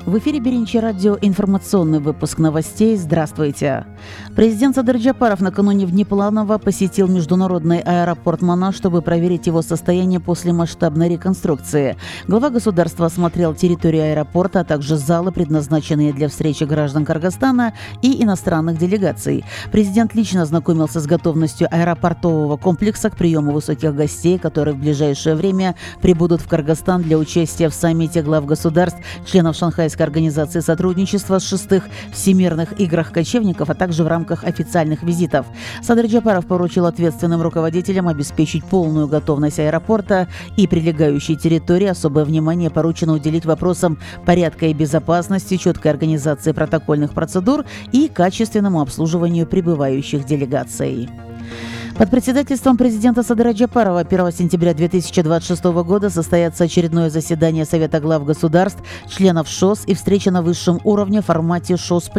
В эфире Биринчи радио, информационный выпуск новостей. Здравствуйте. Президент Садыр Джапаров накануне внепланово посетил международный аэропорт Манас, чтобы проверить его состояние после масштабной реконструкции. Глава государства осмотрел территорию аэропорта, а также залы, предназначенные для встречи граждан Кыргызстана и иностранных делегаций. Президент лично ознакомился с готовностью аэропортового комплекса к приему высоких гостей, которые в ближайшее время прибудут в Кыргызстан для участия в саммите глав государств, членов Шанхайской организации сотрудничества с 6-х Всемирных играх кочевников, а также в рамках официальных визитов. Садыр Джапаров поручил ответственным руководителям обеспечить полную готовность аэропорта и прилегающей территории. Особое внимание поручено уделить вопросам порядка и безопасности, четкой организации протокольных процедур и качественному обслуживанию прибывающих делегаций. Под председательством президента Садыра Джапарова 1 сентября 2026 года состоится очередное заседание Совета глав государств, членов ШОС и встреча на высшем уровне в формате ШОС+.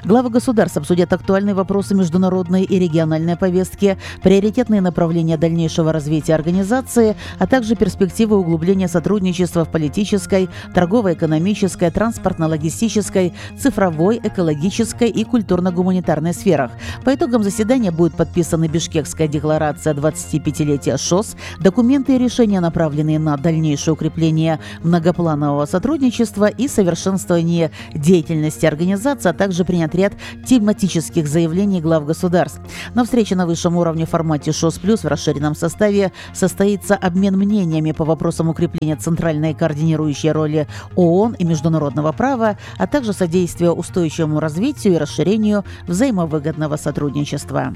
Главы государств обсудят актуальные вопросы международной и региональной повестки, приоритетные направления дальнейшего развития организации, а также перспективы углубления сотрудничества в политической, торгово-экономической, транспортно-логистической, цифровой, экологической и культурно-гуманитарной сферах. По итогам заседания будет подписаны Бишкекская декларация 25-летия ШОС, документы и решения, направленные на дальнейшее укрепление многопланового сотрудничества и совершенствование деятельности организации, а также принят ряд тематических заявлений глав государств. На встрече на высшем уровне в формате ШОС+, в расширенном составе состоится обмен мнениями по вопросам укрепления центральной координирующей роли ООН и международного права, а также содействия устойчивому развитию и расширению взаимовыгодного сотрудничества.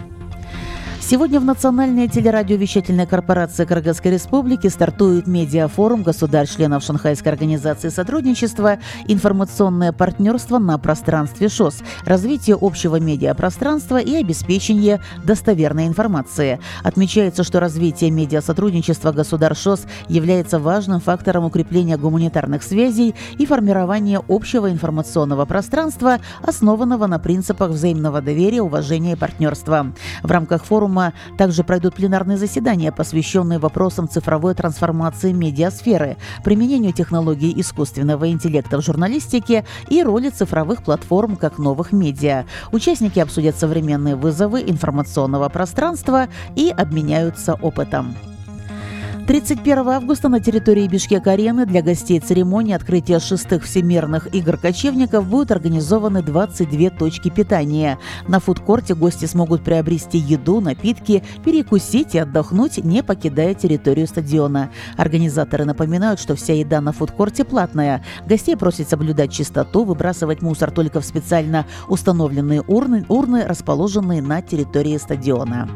Сегодня в Национальной телерадиовещательной корпорации Кыргызской Республики стартует медиафорум государств-членов Шанхайской организации сотрудничества «Информационное партнерство на пространстве ШОС. Развитие общего медиапространства и обеспечение достоверной информации». Отмечается, что развитие медиасотрудничества государств ШОС является важным фактором укрепления гуманитарных связей и формирования общего информационного пространства, основанного на принципах взаимного доверия, уважения и партнерства. В рамках форума также пройдут пленарные заседания, посвященные вопросам цифровой трансформации медиасферы, применению технологий искусственного интеллекта в журналистике и роли цифровых платформ как новых медиа. Участники обсудят современные вызовы информационного пространства и обменяются опытом. 31 августа на территории Бишкек-арены для гостей церемонии открытия 6-х Всемирных игр кочевников будут организованы 22 точки питания. На фудкорте гости смогут приобрести еду, напитки, перекусить и отдохнуть, не покидая территорию стадиона. Организаторы напоминают, что вся еда на фудкорте платная. Гостей просят соблюдать чистоту, выбрасывать мусор только в специально установленные урны, расположенные на территории стадиона.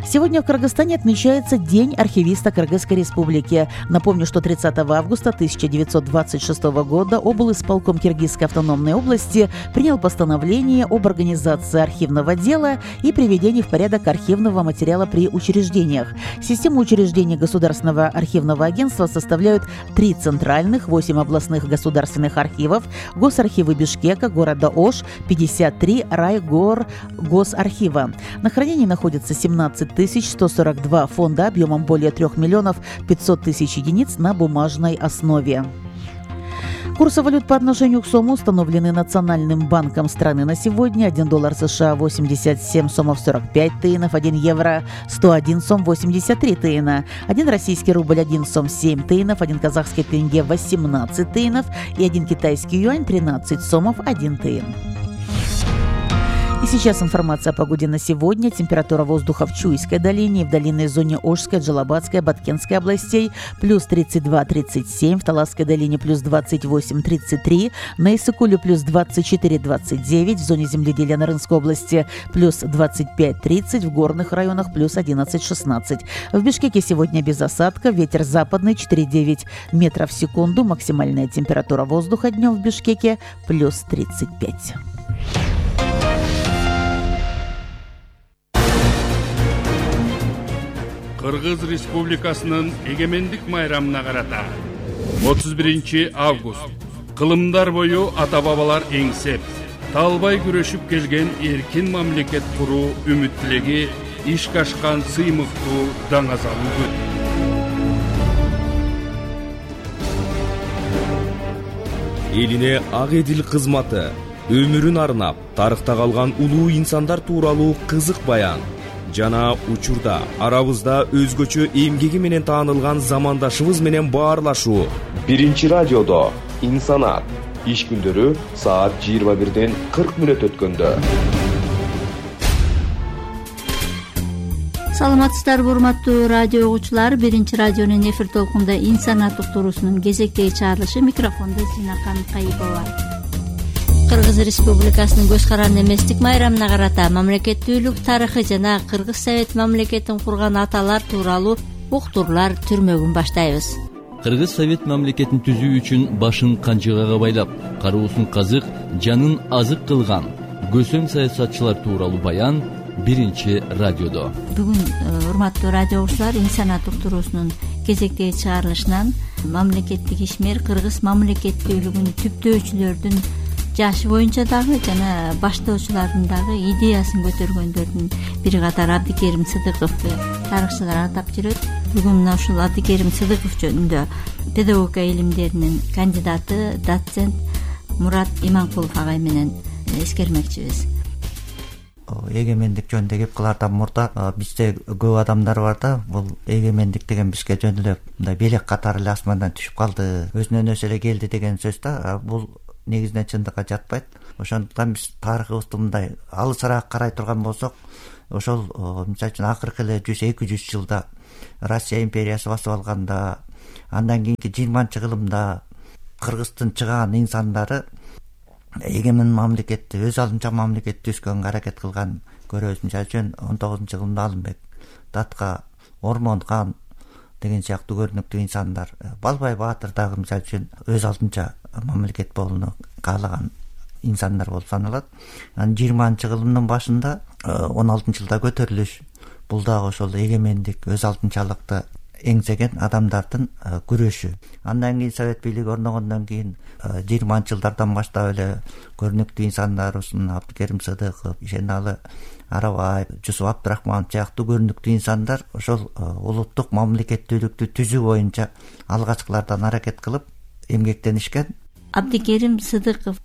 Сегодня в Кыргызстане отмечается День архивиста Кыргызской Республики. Напомню, что 30 августа 1926 года облисполком Киргизской автономной области принял постановление об организации архивного дела и приведении в порядок архивного материала при учреждениях. Систему учреждений Государственного архивного агентства составляют 3 центральных, 8 областных государственных архивов, госархивы Бишкека, города Ош, 53 райгор-госархива. На хранении находится 17 142 фонда объемом более 3 миллионов 500 тысяч единиц на бумажной основе. Курсы валют по отношению к сому установлены Национальным банком страны на сегодня. 1 доллар США 87 сомов 45 тыинов, 1 евро 101 сом 83 тыина, 1 российский рубль 1 сом 7 тыинов, 1 казахский тенге 18 тыинов и 1 китайский юань 13 сомов 1 тыин. И сейчас информация о погоде на сегодня. Температура воздуха в Чуйской долине и в долинной зоне Ошской, Джалабадской, Баткенской областей плюс 32-37, в Таласской долине плюс 28-33, на Иссыкуле плюс 24-29, в зоне земледелия Нарынской области плюс 25-30, в горных районах плюс 11-16. В Бишкеке сегодня без осадка, ветер западный 4,9 метров в секунду, максимальная температура воздуха днем в Бишкеке плюс 35. Кыргыз Республикасынын эгемендик майрамына карата 31 август кылымдар бою ата-бабалар эңсеп, талбай күрөшүп келген эркин мамлекет куруу үмүт тилеги ишке ашкан сыймыктуу даңазалуу күн. элине ак эдил кызматы, өмүрүн арнап тарыхта калган улуу инсандар тууралуу кызык баян жана учурда арабызда өзгөчө эмгеги менен таанылган замандашыбыз менен баарлашуу. Биринчи радиодо инсанат иш күндөрү саат 21:40 өткөндө. Саламатсыздарбы урматтуу радио угуучулар. Биринчи радионун эфир толкунда инсанат уктуруусунун кезектеги чыгарылышы, микрофондо Зинакан Кайыпова. Кыргыз Республикасынын көз каранды эместик майрамына карата мамлекеттүүлүк тарыхы жана Кыргыз Совет мамлекетин курган аталар тууралуу уктуруулар түрмөгүн баштайбыз. Кыргыз Совет мамлекетин түзүү үчүн башын канчыгага байлап, кароосун казык, жанын азык кылган көсөм саясатчылар тууралуу баян биринчи радиодо. Бүгүн урматтуу радио угуучулар, инсанат уктуруусунун кезектеги чыгарылышынан мамлекеттик ишмер Кыргыз мамлекеттүүлүгүн түптөөчүлөрдүн жашы боюнча дагы жана баштоочулардын дагы идеясын көтөргөндөрдүн бир катары Абдикерим Сыдыковду тарыхчылар атап жүрөт. Бүгүн мына ушул Абдикерим Сыдыков жөнүндө педагогика илимдеринин кандидаты, доцент Мурат Иманкулов агай менен эскермекчибиз. Эгемендик жөнүндө кеп кылаардан мурда бизде көп адамдар бар да, бул эгемендик деген бизге жөн эле мындай белек катары эле асмандан түшүп калды, өзүнөн өзү эле келди деген сөз да. Бул негизинен чындыкка жатпайт. Ошондуктан биз тарыхыбызды мындай алысыраак карай турган болсок, ошол мисалы үчүн акыркы эле 100-200 жылда Россия империясы басып алганда, андан кийинки 20-кылымда Кыргыздын чыган инсандары эгемен мамлекетти, өз алдынча мамлекетти түзгөнгө аракет кылган көрөбүз. Мисалы үчүн 19-кылымда Алымбек, Датка, Ормон-хан деген сыяктуу көрүнүктүү инсандар, Балбай Баатыр дагы мисалы үчүн өз алдынча мамлекет болууну каалаган инсандар болуп саналат. Анан 20-кылымдын башында 16-жылда көтөрүлүш, бул дагы ошол эгемендик, өз алдынчалыкты эңсеген адамдардын күрөшү. Андан кийин Совет бийлиги орногондон кийин 20-жылдардан баштап эле көрүнүктүү инсандарыбыз Абдикерим Сыдыков, Ишеналы Арабаев, Жусуп Абдрахманов сыяктуу көрүнүктүү инсандар ошол улуттук мамлекеттүүлүктү түзүү боюнча алгачкылардан аракет кылып эмгектенишкен. Абдикерим Сыдыков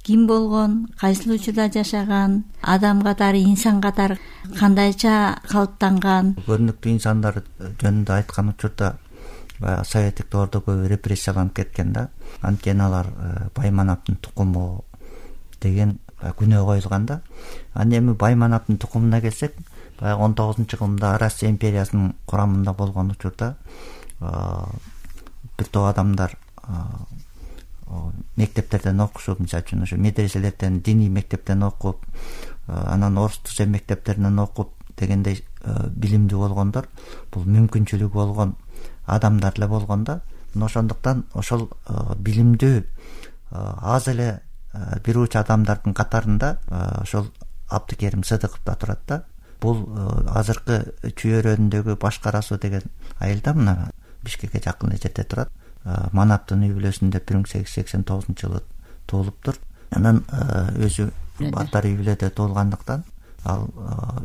ким болгон, кайсыл учурда жашаган, адам катары, инсан катары кандайча калыптанган? Көрүнүктүү инсандар жөнүндө айткан учурда баягы советтик доордо көбү репрессияланып кеткен да. Анткени алар Байманаптын тукуму деген күнөө коюлган да. Анан эми Байманаптын тукумуна келсек, баягы 19-кылымда Россия империясынын курамында болгон учурда бир топ адамдар мектептерден окушуп, мисалы үчүн ошо медреселерден, диний мектептен окуп, анан орус тил мектептеринен окуп дегендей билимдүү болгондор, бул мүмкүнчүлүгү болгон адамдар эле болгон да. Ошондуктан ошол билимдүү аз эле бир уч адамдардын катарында ошол Абдикерим Сыдыков да турат да. Бул азыркы Чүйөрөндөгү Башкарасуу деген айылда, мына Бишкекке жакын жерде турат. Манаптын үй бүлөсүндө 1889-жылы туулуптур. Анан өзү батар үй бүлөдө туулгандыктан ал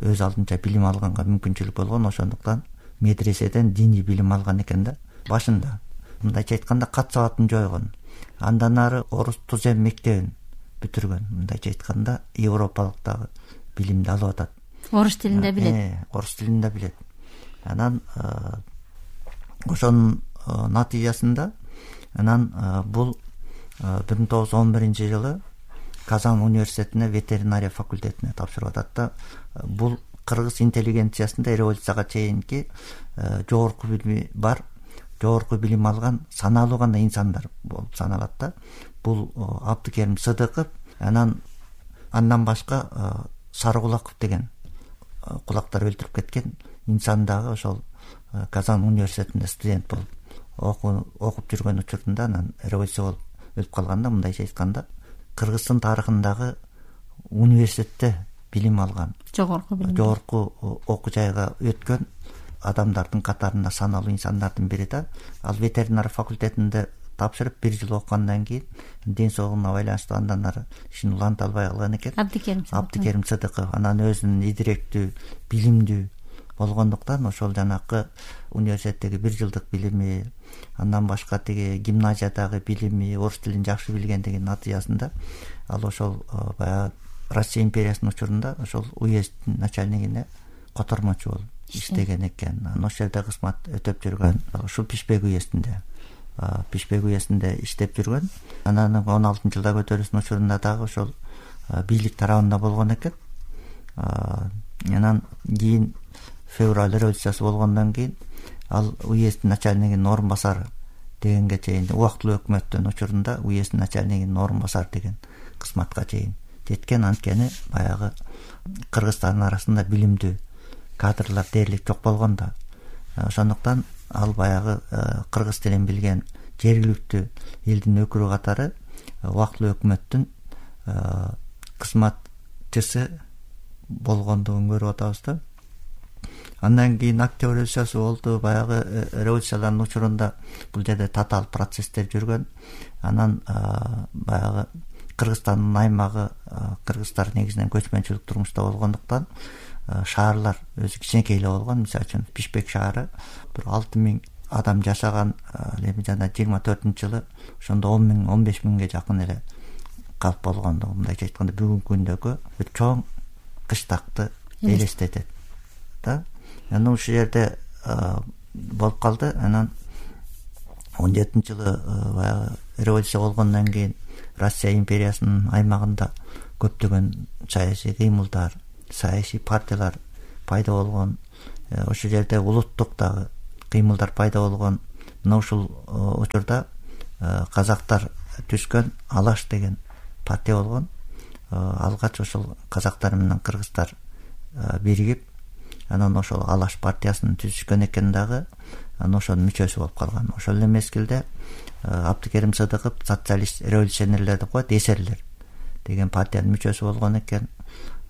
өз алдынча билим алганга мүмкүнчүлүк болгон. Ошондуктан медреседен диний билим алган экен да. Башында мындайча айтканда кат сабатын жойгон. Андан ары орус тузем мектебин бүтүргөн. Мындайча айтканда европалык дагы билимди алып атат. Орус тилинде билет. Орус тилинде билет. Анан ошонун натыйжасында анан бул 1911-жылы Казан университетине ветеринария факультетине тапшырып атат да. Бул кыргыз интеллигенциясында революцияга чейинки жогорку билими бар, жогорку билим алган саналуу гана инсандар болуп саналат да. Бул Абдикерим Сыдыков, андан башка Сарыкулаков деген кулактар өлтүрүп кеткен инсан дагы ошол Казан университетинде студент болуп окуп жүргөн учурунда анан революция болуп өлүп калганда, мындайча айтканда Кыргыздын тарыхындагы университетте билим алган, жогорку окуу жайга өткөн адамдардын катарында саналуу инсандардын бири да. Ал ветеринар факультетинде тапшырып 1 жыл окугандан кийин ден соолугуна байланыштуу андан ары ишин уланта албай калган экен. Абдикерим Сыдыков анан өзүнүн идиректүү, билимдүү болгондуктан ошол жанакы университеттеги 1 жылдык билими, андан башка тиги гимназиядагы билими, орус тилин жакшы билгендигинин натыйжасында ал ошол баягы Россия империясынын учурунда ошол уезддин начальнигине котормочу болуп иштеген экен. Ошол жерде кызмат өтөп жүргөн. Ушул Пишпек уездинде иштеп жүргөн. Анан 16-жылда көтөрүүсүнүн учурунда дагы ошол бийлик тарабында болгон экен. Анан кийин февраль революциясы болгондон кийин ал уезддин начальнигинин орун басары дегенге чейин убактылуу өкмөттүн учурунда уезддин начальнигинин орун басары деген кызматка чейин жеткен. Анткени баягы Кыргызстандын арасында билимдүү кадрлар дээрлик жок болгон да. Ошондуктан ал баягы кыргыз тилин билген жергиликтүү элдин өкүлү катары убактылуу өкмөттүн кызматчысы болгондугун көрүп атабыз да. Андан кийин Октябрь революциясы болду. Баягы революциялардын учурунда бул жерде татаал процесстер жүргөн. Анан баягы Кыргызстандын аймагы кыргыздар негизинен көчмөнчүлүк турмушта болгондуктан шаарлар өзү кичинекей эле болгон. Мисалы үчүн Бишкек шаары бир 6000 адам жашаган. Эми жана 24-жылы ошондо 10.000-15 миңге жакын эле калп болгондугу, мындайча айтканда бүгүнкү күндөгү бир чоң кыштакты элестетет да. Анан ушул жерде болуп калды. Анан 17-жылы баягы революция болгондон кийин Россия империясынын аймагында көптөгөн саясий кыймылдар, саясий партиялар пайда болгон. Ошол жерде улуттук дагы кыймылдар пайда болгон. Мына ушул учурда казактар түзгөн Алаш деген партия болгон. Алгач ошол казактар менен кыргыздар биригип, анан ошол Алаш партиясын түзүшкөн экен дагы. Анан ошонун мүчөсү болуп калган. Ошол эле мезгилде Абдыкерим Сыдыков социалист революционерлер деп коет, эсерлер деген партиянын мүчөсү болгон экен.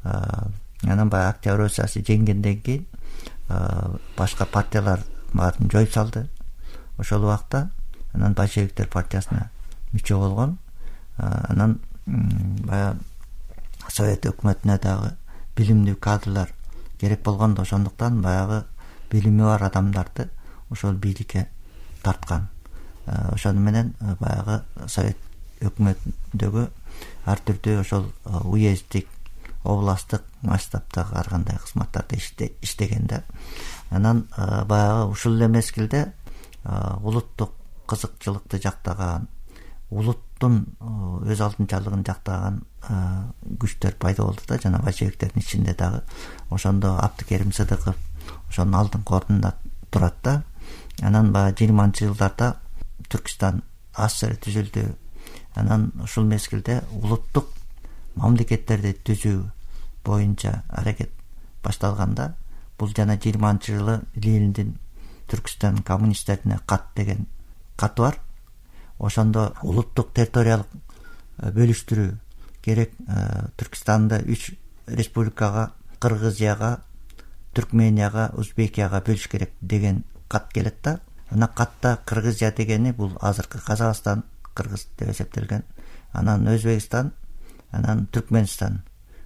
Анан баягы Октябрь революциясы жеңгенден кийин башка партиялар баарын жоюп салды. Ошол убакта анан большевиктер партиясына мүчө болгон. Анан баягы Совет өкмөтүнө дагы билимдүү кадрлар керек болгондо, ошондуктан баягы билими бар адамдарды ошол бийликке тарткан. Ошону менен баягы Совет өкмөтүндөгү ар түрдүү ошол уезддик, областтык масштабтагы ар кандай кызматтарда иштеген да. Анан баягы ушул эле мезгилде улуттук кызыкчылыкты жактаган, улуттун өз алдынчалыгын жактаган күчтөр пайда болду да, жана большевиктердин ичинде дагы. Ошондо Абдыкерим Сыдыков ошонун алдыңкы ордунда турат да. Анан баягы 20-жылдарда Түркистан АССР түзүлдү. Анан ушул мезгилде улуттук мамлекеттерди түзүү боюнча аракет башталганда, бул жана 20-жылы Лениндин Түркистан коммунисттерине кат деген каты бар. Ошондо улуттук территориялык бөлүштүрүү керек. Түркистанды 3 республикага, Кыргызияга, Түркменияга, Узбекияга бөлүш керек деген кат келет да. Ана катта Кыргызия дегени бул азыркы Казакстан, Кыргыз деп эсептелген. Анан Өзбекстан, анан Түркменстан.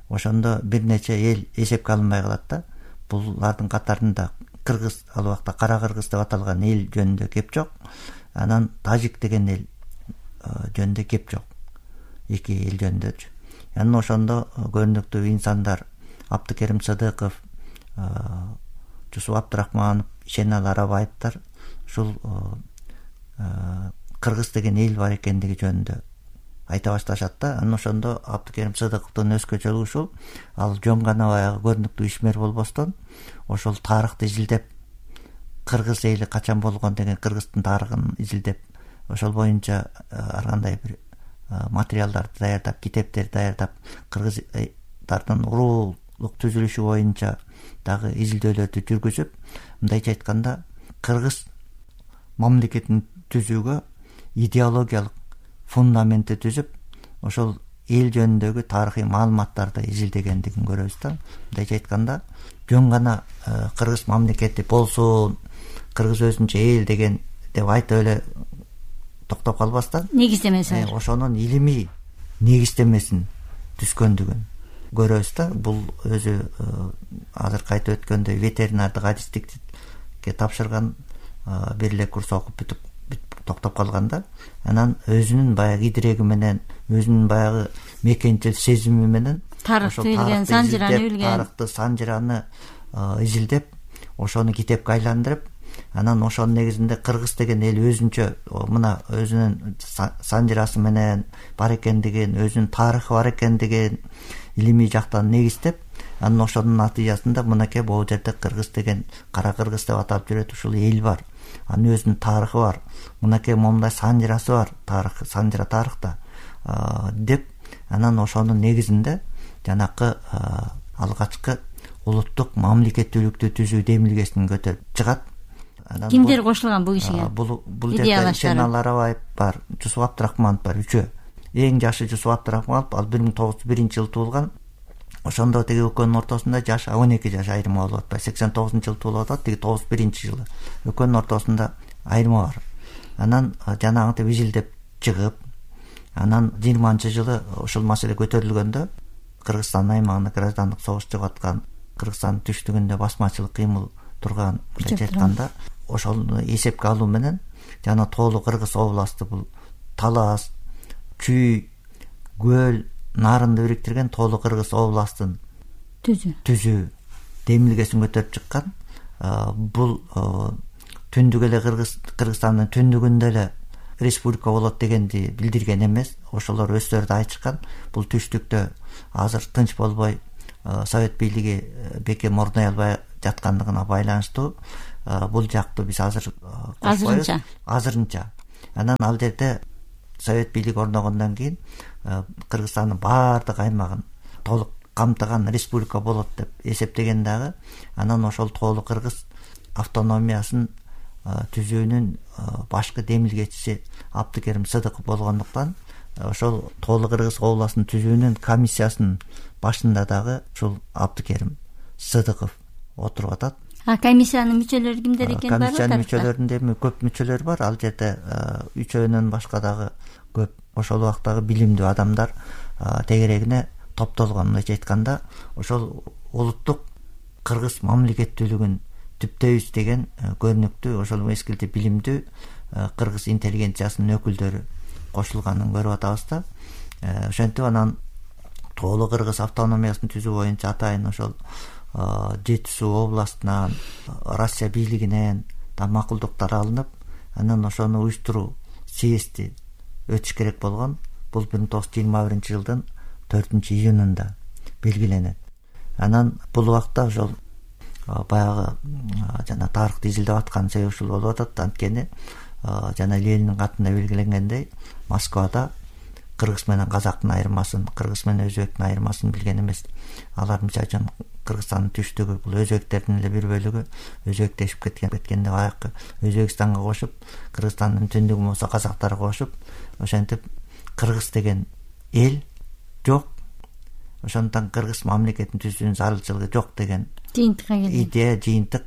Ошондо бир нече эл эсепке алынбай калат да. Булардын катарында Кыргыз, ал убакта Кара Кыргыз деп аталган эл жөнүндө кеп жок. Анан Тажик деген эл жөнүндө кеп жок. Эки эл жөнүндөчү. Анан ошондо көрүнүктүү инсандар Абдыкерим Сыдыков, Жусуп Абдрахманов, Ишенал Арабаевдер ушул Кыргыз деген эл бар экендиги жөнүндө айта башташат да. Анан ошондо Абдыкерим Сыдыковдун өзгөчөлүгү ушул, ал жөн гана баягы көрүнүктүү ишмер болбостон ошол тарыхты изилдеп, кыргыз эли качан болгон деген Кыргыздын тарыхын изилдеп, ошол боюнча ар кандай бир материалдарды даярдап, китептерди даярдап, кыргыздардын уруулук түзүлүшү боюнча дагы изилдөөлөрдү жүргүзүп, мындайча айтканда кыргыз мамлекетин түзүүгө идеологиялык фундаментти түзүп, ошол эл жөнүндөгү тарыхый маалыматтарды изилдегендигин көрөбүз да. Мындайча айтканда жөн гана кыргыз мамлекети болсун, кыргыз өзүнчө эл деген деп айтып эле токтоп калбастан, негиздемеси ошонун илимий негиздемесин түзгөндүгүн көрөбүз да. Бул өзү азыркы айтып өткөндөй ветеринардык адистикке тапшырган, бир эле курс окуп бүтүп токтоп калган да. Анан өзүнүн баягы идиреги менен, өзүнүн баягы мекенчил сезими менен тарыхты билген, санжираны билген, тарыхты, санжираны изилдеп, ошону китепке айландырып, анан ошонун негизинде кыргыз деген эл өзүнчө мына өзүнүн санжирасы менен бар экендигин, өзүнүн тарыхы бар экендигин илимий жактан негиздеп, анан ошонун натыйжасында мынакей могу жерде кыргыз деген, кара кыргыз деп атап жүрөт ушул эл бар. Анын өзүнүн тарыхы бар. Мынакей момундай санжирасы бар, тарых, санжира тарыхта деп, анан ошонун негизинде жанакы алгачкы улуттук мамлекеттүүлүктү түзүү демилгесин көтөрүп чыгат. Кимдер кошулган бул кишиге? Бул жерде Шенал Арабаев бар, Жусуп Абдрахманов бар, үчөө. Эң жашы Жусуп Абдрахманов, ал 1901-жылы туулган. Ошондо тиги экөөнүн ортосунда жаш 12 жаш айырма болуп атпайбы. 89-жылы туулуп атат, тиги 91-жылы. Экөөнүн ортосунда айырма бар. Анан жанагынтип изилдеп чыгып, анан 20-жылы ушул маселе көтөрүлгөндө, Кыргызстан аймагында граждандык согуш чыгып аткан, Кыргызстандын түштүгүндө басмачылык кыймыл турган айтканда, ошону эсепке алуу менен жана Тоолу Кыргыз областы, бул Талас, Чүй, Көл, Нарынды бириктирген Тоолу Кыргыз областын түзүү демилгесин көтөрүп чыккан. Бул түндүк эле Кыргызстандын түндүгүндө эле республика болот дегенди билдирген эмес. Ошолор өздөрү да айтышкан. Бул түштүктө азыр тынч болбой, Совет бийлиги бекем орной албай жаткандыгына байланыштуу бул жакты биз азыр азырынча. Анан ал жерде Совет бийлиги орногондон кийин Кыргызстандын баардык аймагын толук камтыган республика болот деп эсептеген дагы. Анан ошол Тоолу Кыргыз автономиясын түзүүнүн башкы демилгечиси Абдыкерим Сыдыков болгондуктан, ошол Тоолу Кыргыз областын түзүүнүн комиссиясынын башында дагы ушул Абдыкерим Сыдыков отуруп атат. Комиссиянын мүчөлөрү кимдер экени бар? Комиссиянын мүчөлөрүнүн эми көп мүчөлөрү бар. Ал жерде үчөөнөн башка дагы көп ошол убактагы билимдүү адамдар тегерегине топтолгон. Мындайча айтканда, ошол улуттук кыргыз мамлекеттүүлүгүн түптөйбүз деген көрүнүктүү, ошол мезгилде билимдүү кыргыз интеллигенциясынын өкүлдөрү кошулганын көрүп атабыз да. Ошентип анан Тоолу Кыргыз автономиясын түзүү боюнча атайын ошол Жети Суу областынан, Россия бийлигинен да макулдуктар алынып, анан ошону уюштуруу съезди өтүш керек болгон. Бул 1921-жылдын 4-июнунда белгиленет. Анан бул убакта ошол баягы жана тарыхты изилдеп аткан себеби ушул болуп атат. Анткени жана Ленинин катында белгиленгендей, Москвада кыргыз менен казактын айырмасын, кыргыз менен өзбектин айырмасын билген эмес. Алар мисалы үчүн Кыргызстандын түштүгү, бул өзбектердин эле бир бөлүгү өзбектешип кеткенде баягы Өзбекстанга кошуп, Кыргызстандын түндүгү болсо казактарга кошуп, ошентип кыргыз деген эл жок. Ошондон кыргыз мамлекетин түзүүнүн зарылчылыгы жок деген идея, жыйынтык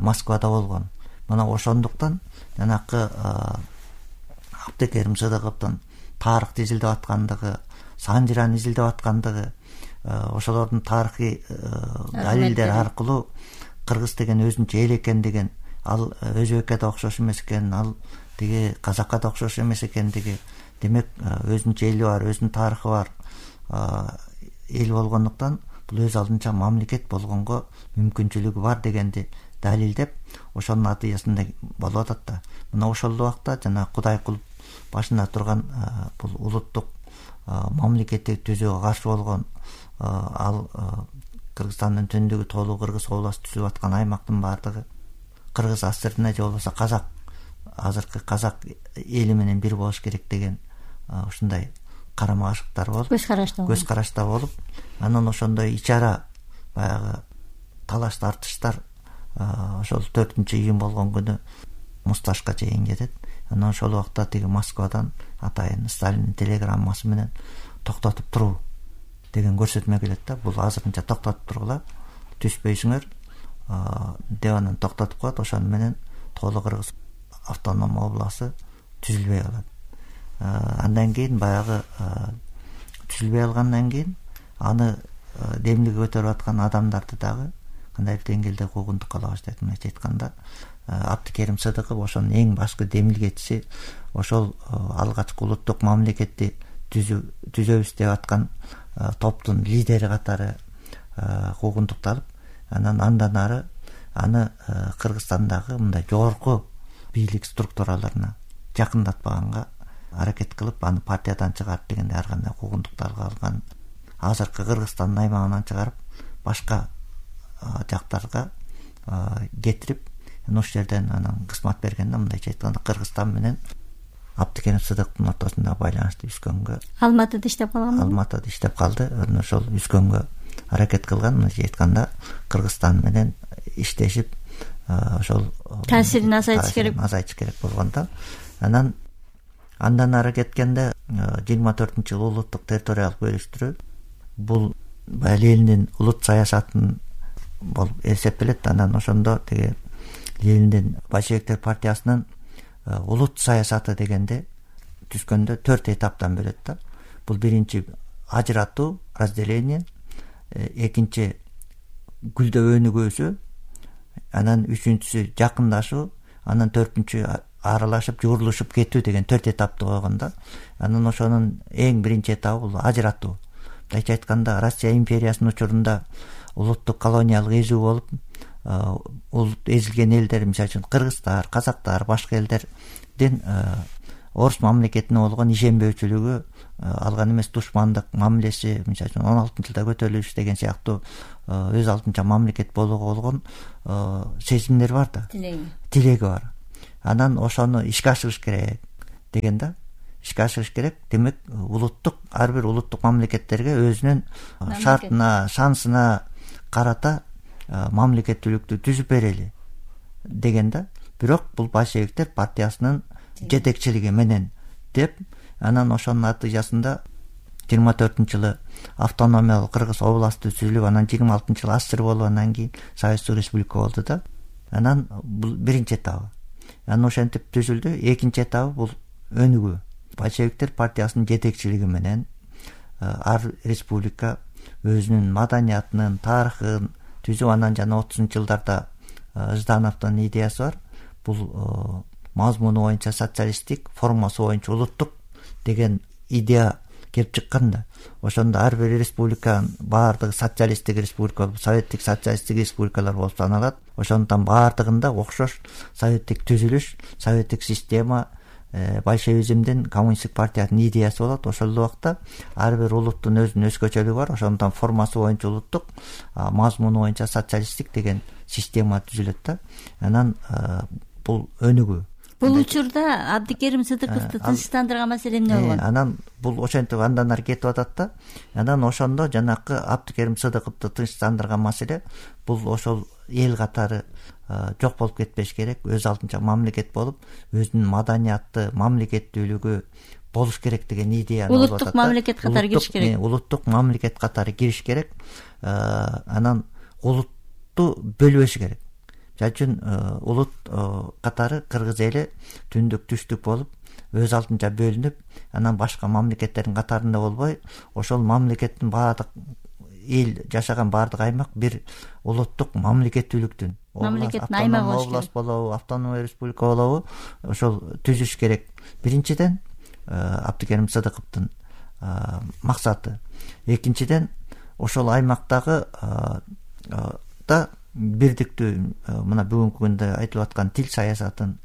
Москвада болгон. Мына ошондуктан жанакы Абдыкерим Сыдыковдун тарыхты изилдеп аткандыгы, санжираны изилдеп аткандыгы, ошолордун тарыхый далилдери аркылуу кыргыз деген өзүнчө эл экендигин, ал өзбекке да окшош эмес экен, ал тиги казакка да окшош эмес экендиги, демек өзүнчө эли бар, өзүнүн тарыхы бар эл болгондуктан бул өз алдынча мамлекет болгонго мүмкүнчүлүгү бар дегенди далилдеп, ошонун натыйжасында болуп атат да. Мына ошол убакта жана Кудайкулов башында турган бул улуттук мамлекетти түзүүгө каршы болгон, ал Кыргызстандын түндүгү Тоолу Кыргыз областы түзүп аткан аймактын баардыгы кыргыз асырына же болбосо казак, азыркы казак эли менен бир болуш керек деген ушундай карама каршылыктар болуп, көз карашта болуп, анан ошондой ичара баягы талаш тартыштар ошол 4-июнь болгон күнү Мусташка чейин кетет. Анан ошол убакта тиги Москвадан атайын Сталиндин телеграммасы менен токтотуп туруу деген көрсөтмө келет да. Бул азырынча токтотуп тургула, түшпөйсүңөр деп анан токтотуп коет. Ошону менен Тоолу Кыргыз автоном областы түзүлбөй калат. Андан кийин баягы түзүлбөй алгандан кийин аны демилге көтөрүп аткан адамдарды дагы кандайдыр деңгээлде куугунтукка ала баштайт. Мындайча айтканда Абдыкерим Сыдыков ошонун эң башкы демилгечиси, ошол алгачкы улуттук мамлекетти түзөбүз деп аткан топтун лидери катары куугунтукталып, андан ары аны Кыргызстандагы мындай жогорку бийлик структураларына жакындатпаганга аракет кылып, аны партиядан чыгарып дегенде ар кандай куугунтуктарга алган. Азыркы Кыргызстандын аймагынан чыгарып башка жактарга кетирип, ошол жерден анан кызмат бергенде, мындайча айтканда Кыргызстан менен Абдыкерим Сыдыктын ортосунда байланышты үзгөнгө, Алматыда иштеп калган. Алматыда иштеп калды. Ошол үзгөнгө аракет кылган. Мындайча айтканда Кыргызстан менен иштешип, ошол таасирин азайтыш керек болгондо, андан ары кеткенде 24-жылы улуттук территориялык бөлүштүрүү бул Ленин улут саясатын болуп эсептелет. Анан ошондо тиги Лениндин большевиктер партиясынын улут саясаты дегенде түзгөндө 4 этаптан бөлөт да. Бул биринчи ажыратуу, разделение, экинчи гүлдөп өнүгүүсү, анан үчүнчүсү жакындашуу, анан төртүнчү аралашып жуурулушуп кетүү деген 4 этапты койгон да. Анан ошонун эң биринчи этабы бул ажыратуу. Мындайча айтканда Россия империясынын учурунда улуттук колониялык эзүү болуп, улут эзилген элдер, мисалы үчүн кыргыздар, казактар, башка элдердин орус мамлекетине болгон ишенбөөчүлүгү, алган эмес душмандык мамилеси, мисалы үчүн 16-жылда көтөрүлүш деген сыяктуу өз алдынча мамлекет болууга болгон сезимдер бар да, тилеги бар. Анан ошону ишке ашырыш керек деген да. Ишке ашырыш керек. Демек, ар бир улуттук мамлекеттерге өзүнүн шартына, шансына карата мамлекеттүүлүктү түзүп берели деген да. Бирок бул большевиктер партиясынын жетекчилиги менен деп, анан ошонун натыйжасында 24-жылы автономиялык Кыргыз областы түзүлүп, анан 26-жылы АССР болуп, анан кийин Советский Республика болду да. Анан бул биринчи этабы. Анан ошентип түзүлдү. Экинчи этабы бул өнүгүү. Большевиктер партиясынын жетекчилиги менен ар республика өзүнүн маданиятынын, тарыхын түзүп, анан жана 30-жылдарда Ждановдун идеясы бар. Бул мазмуну боюнча социалисттик, формасы боюнча улуттук деген идея келип чыккан да. Ошондо ар бир республиканын баардыгы социалисттик республика болуп, советтик социалисттик республикалар болуп саналат. Ошондон баардыгында окшош советтик түзүлүш, советтик система, большевизмдин, коммунисттик партиянын идеясы болот. Ошол убакта ар бир улуттун өзүнүн өзгөчөлүгү бар. Ошондон формасы боюнча улуттук, мазмуну боюнча социалисттик деген система түзүлөт да. Анан бул өнүгүү. Бул учурда Абдыкерим Сыдыковду тынчтандырган маселе эмне болгон? Анан бул ошентип андан ары кетип атат да. Анан ошондо жанакы Абдыкерим Сыдыковду тынчтандырган маселе бул ошол эл катары жок болуп кетпеш керек, өз алдынча мамлекет болуп, өзүнүн маданиятты, мамлекеттүүлүгү болуш керек деген идея. Улуттук мамлекет катары кириш керек. Улуттук мамлекет катары кириш керек. Анан улутту бөлбөш керек. Жал үчүн улут катары Кыргыз эли түндүк түштүк болуп, өз алдынча бөлүнүп, анан башка мамлекеттердин катарында болбой, ошол мамлекеттин баардык эл жашаган баардык аймак бир улуттук мамлекеттүүлүктүн, мамлекеттин аймагы болуш керек. Област болобу, автономия республика болобу, ошол түзүш керек. Биринчиден Абдыкерим Сыдыковдун максаты. Экинчиден ошол аймактагы да бирдиктүү, мына бүгүнкү күндө айтылып аткан тил саясатын,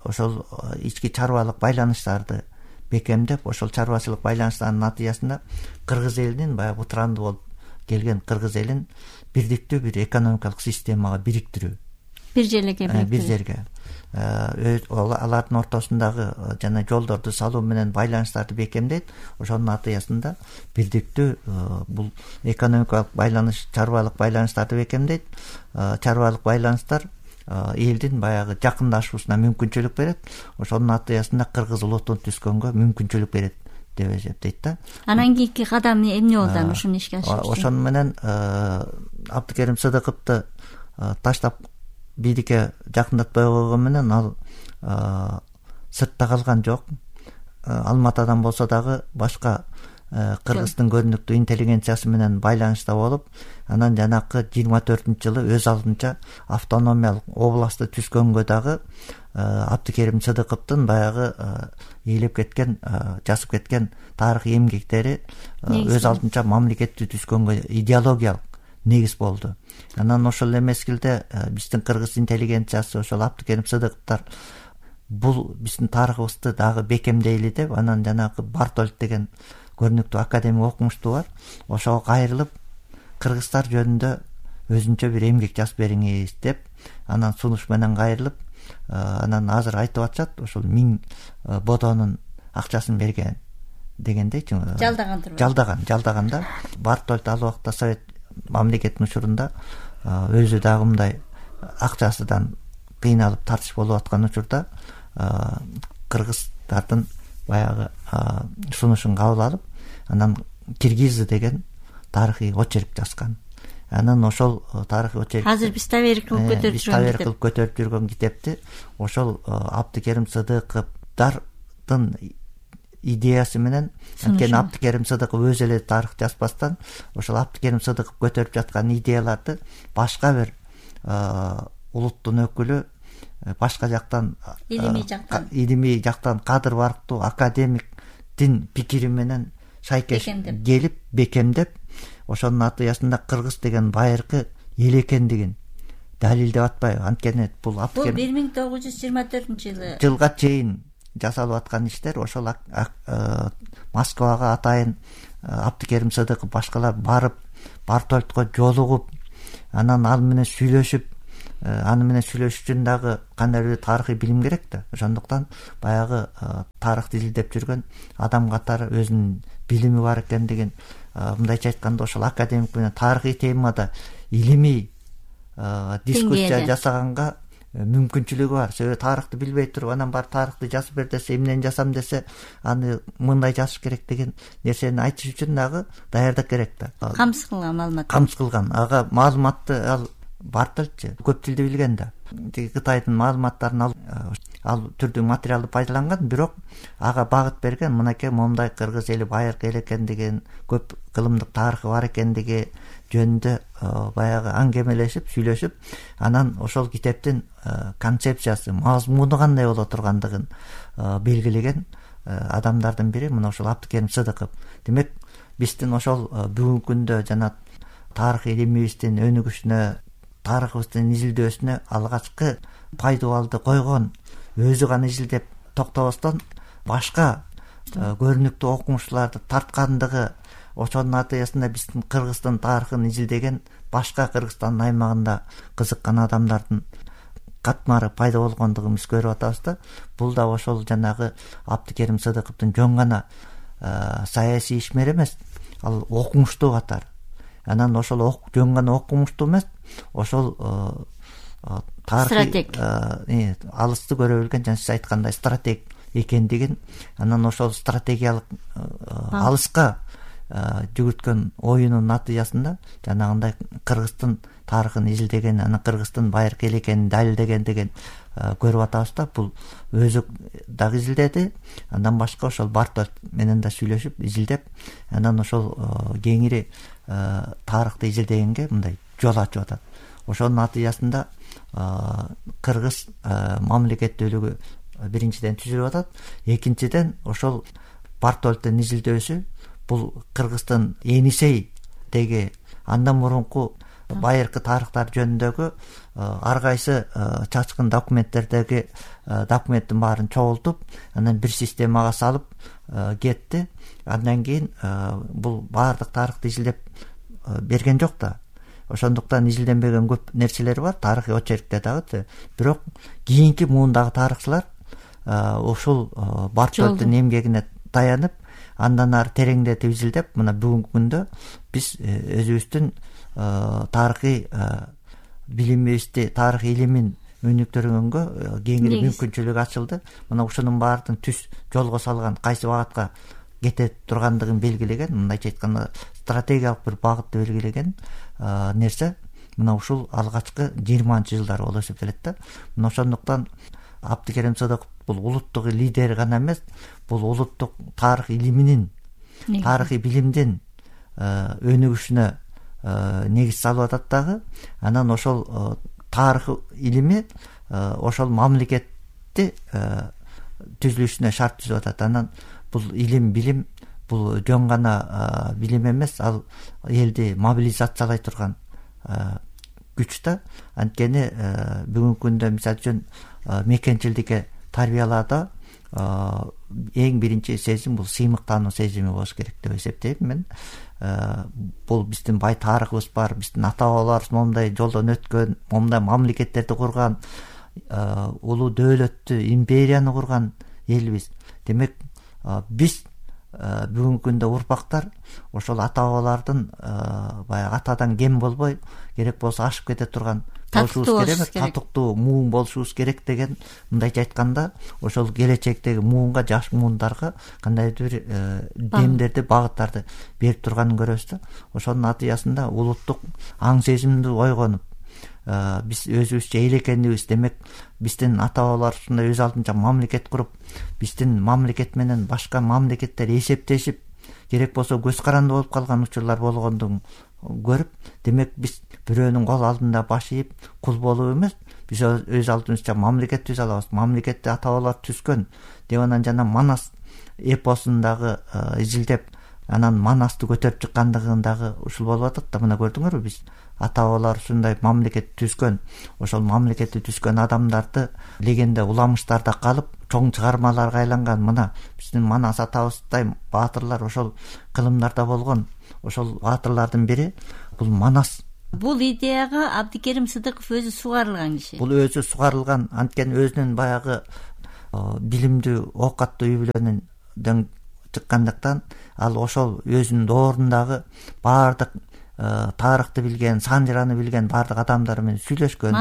ошол ички чарбалык байланыштарды бекемдеп, ошол чарбачылык байланыштардын натыйжасында Кыргыз элинин баягы бытыранды болуп келген Кыргыз элин бирдиктүү бир экономикалык системага бириктирүү. Бир жерге бириктирүү. Бир жерге. Алардын ортосундагы жана жолдорду салуу менен байланыштарды бекемдейт. Ошонун натыйжасында бирдиктүү бул экономикалык байланыш, чарбалык байланыштарды бекемдейт. Чарбалык байланыштар элдин баягы жакындашуусуна мүмкүнчүлүк берет. Ошонун натыйжасында кыргыз улутун түзгөнгө мүмкүнчүлүк берет деп эсептейт да. Анан кийинки кадам эмне болду аны ушуну ишке ашырыш? Ошону менен Абдыкерим Сыдыковду таштап бийликке жакындатпай койгон менен ал сыртта калган жок. Алматадан болсо дагы башка Кыргыздын көрүнүктүү интеллигенциясы менен байланышта болуп, анан жанакы 24-жылы өз алдынча автономиялык областты түзгөнгө дагы Абдыкерим Сыдыковдун баягы ээлеп кеткен, жазып кеткен тарыхый эмгектери өз алдынча мамлекетти түзгөнгө идеологиялык негиз болду. Анан ошол эле мезгилде биздин кыргыз интеллигенциясы ошол Абдыкерим Сыдыковдор бул биздин тарыхыбызды дагы бекемдейли деп, анан жанагы Бартольд деген көрүнүктүү академик окумуштуу бар, ошого кайрылып кыргыздар жөнүндө өзүнчө бир эмгек жазып бериңиз деп, анан сунуш менен кайрылып, анан азыр айтып атышат ошол 1000 бодонун акчасын берген дегендей, жалдаганда Бартольд ал убакта совет мамлекетинин учурунда өзү дагы мындай акчасынан кыйналып тартыш болуп аткан учурда кыргыздардын баягы сунушун кабыл алып, анан Киргизы деген тарыхый очерк жазган. Анан ошол тарыхый очерк азыр биз таберик кылып көтөрүп жүргөн китепти ошол Абдыкерим Сыдыковдардын идеясы менен, анткени Абдыкерим Сыдыков өзү эле тарых жазбастан ошол Абдыкерим Сыдыков көтөрүп жаткан идеяларды башка бир улуттун өкүлү, башка жактан илимий жактан кадыр барктуу академиктин пикири менен шайкеш келип бекемдеп, ошонун натыйжасында кыргыз деген байыркы эл экендигин далилдеп атпайбы? Анткени бул 1924-жылга чейин жасалып аткан иштер. Ошол Москвага атайын Абдыкерим Сыдыков башкалар барып, Бартольдко жолугуп, анан ал менен сүйлөшүп, аны менен сүйлөшүш үчүн дагы кандайдыр тарыхый билим керек да. Ошондуктан баягы тарыхты изилдеп жүргөн адам катары өзүнүн билими бар экендигин, мындайча айтканда ошол академик менен тарыхый темада илимий дискуссия жасаганга мүмкүнчүлүгү бар. Себеби тарыхты билбей туруп, анан бар тарыхты жазып бер десе, эмнени жазам десе, аны мындай жазыш керек деген нерсени айтыш үчүн дагы даярдык керек да. Камсыз кылган маалымат. Ага маалыматты ал Бартольдчу көп тилди билген да. Кытайдын маалыматтарын ал түрдүү материалды пайдаланган, бирок ага багыт берген, мынакей момундай кыргыз эли байыркы эл экендигин, көп кылымдык тарыхы бар экендиги жөнүндө баягы аңгемелешип, сүйлөшүп, анан ошол китептин концепциясы, мазмуну кандай боло тургандыгын белгилеген адамдардын бири мына ошол Абдыкерим Сыдыков. Демек, биздин ошол бүгүнкү күндө жана тарых илимибиздин өнүгүшүнө, тарыхыбыздын изилдөөсүнө алгачкы пайдубалды койгон, өзү гана изилдеп токтобостон башка көрүнүктүү окумуштууларды тарткандыгы, ошонун натыйжасында биздин Кыргыздын тарыхын изилдеген, башка Кыргызстандын аймагында кызыккан адамдардын катмары пайда болгондугун биз көрүп атабыз да. Бул да ошол жанагы Абдыкерим Сыдыковдун жөн гана саясий ишмер эмес, ал окумуштуу катар. Анан ошол жөн гана окумуштуу эмес, ошол стратег, алысты көрө билген, жана сиз айткандай стратег экендигин, анан ошол стратегиялык алыска жүгүрткөн оюнун натыйжасында жанагындай Кыргыздын тарыхын изилдеген, анан Кыргыздын байыркы эл экенин далилдегендигин көрүп атабыз да. Бул өзү дагы изилдеди, андан башка ошол Бартольд менен да сүйлөшүп, изилдеп, анан ошол кеңири тарыхты изилдегенге мындай жол ачып атат. Ошонун натыйжасында кыргыз мамлекеттүүлүгү биринчиден түзүлүп атат, экинчиден ошол Бартольдтун изилдөөсү бул Кыргыздын Енисейдеги андан мурунку байыркы тарыхтар жөнүндөгү ар кайсы чачкын документтердеги документтин баарын чогултуп, анан бир системага салып кетти. Андан кийин бул баардык тарыхты изилдеп берген жок да. Ошондуктан изилденбеген көп нерселер бар тарыхый очеркте дагы. Бирок кийинки муундагы тарыхчылар ушул Бартольдтун эмгегине таянып, андан ары тереңдетип изилдеп, мына бүгүнкү күндө биз өзүбүздүн тарыхый билимибизди, тарых илимин өнүктүргөнгө кеңири мүмкүнчүлүк ачылды. Мына ушунун баардыгын түз жолго салган, кайсы багытка кете тургандыгын белгилеген, мындайча айтканда стратегиялык бир багытты белгилеген нерсе мына ушул алгачкы 20-жылдар болуп эсептелет да. Мына ошондуктан Абдыкерим Сыдыков бул улуттук лидер гана эмес, бул улуттук тарых илиминин тарыхый билимдин өнүгүшүнө негиз салып атат дагы. Анан ошол тарых илими ошол мамлекетти түзүлүшүнө шарт түзүп атат. Анан бул билим бул жөн гана билим эмес, ал элди мобилизациялай турган күч да. Анткени бүгүнкү күндө мисалы үчүн мекенчилдикке тарбиялаада эң биринчи сезим бул сыймыктануу сезими болуш керек деп эсептейм мен. Бул биздин бай тарыхыбыз бар, биздин ата бабаларыбыз момундай жолдон өткөн, момундай мамлекеттерди курган, улуу дөөлөттү, империяны курган элбиз. Демек биз бүгүнкү күндө урпактар ошол ата бабалардын баягы атадан кем болбой, керек болсо ашып кете турган болушубуз керек, татыктуу муун болушубуз керек деген, мындайча айтканда ошол келечектеги муунга, жаш муундарга кандайдыр бир демдерди, багыттарды берип турганын көрөбүз да. Ошонун натыйжасында улуттук аң сезимди ойгонуп, биз өзүбүзчө эл экенибиз, демек биздин ата бабалар ушундай өз алдынча мамлекет куруп, биздин мамлекет менен башка мамлекеттер эсептешип, керек болсо көз каранды болуп калган учурлар болгондугун көрүп, демек биз бирөөнүн кол алдында баш ийип кул болуп эмес, биз өз алдыбызча мамлекет түзө алабыз. Мамлекетти ата бабалар түзгөн деп анан жана Манас эпосундагы изилдеп, анан Манасты көтөрүп чыккандыгындагы ушул болуп атат да. Мына көрдүңөрбү, биз ата бабалар ушундай мамлекет түзгөн, ошол мамлекетти түзгөн адамдарды легенда уламыштарда калып, чоң чыгармаларга айланган. Мына биздин Манас атабыздай баатырлар ошол кылымдарда болгон. Ошол баатырлардын бири бул Манас. Бул идеяга Абдикерим Сыдыков өзү сугарылган киши. Бул өзү сугарылган, анткени өзүнүн баягы билимдүү, оокаттуу үй бүлөнүн чыккандыктан ал ошол өзүнүн доорундагы баардык тарыхты билген, Санжыраны билген баардык адамдар менен сүйлөшкөн,